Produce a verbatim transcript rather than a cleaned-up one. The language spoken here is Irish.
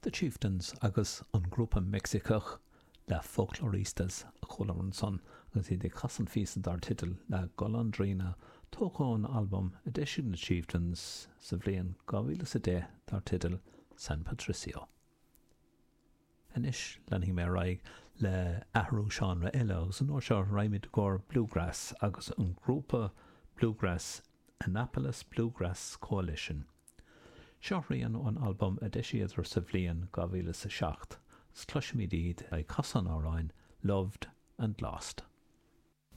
The Chieftains agus an grúpa Meicsiceach La Folkloristas a chualamar ansan agus iad ag casadh an phíosa dar teideal La Golondrina tógtha ón albam a d'eisigh na Chieftains sa bhliain dhá mhíle is a deich dar teideal San Patricio. Anois leanfaidh mé ar aghaidh le athrú seánra eile agus an uair seo raghaimid i gcomhair bluegrass agus an grúpa bluegrass Annapolis Bluegrass Coalition. Seo rian ón albam a d'eisíodar sa bhliain dhá mhíle is a seacht. Cloisimid iad ag casadh an amhráin Loved and Lost.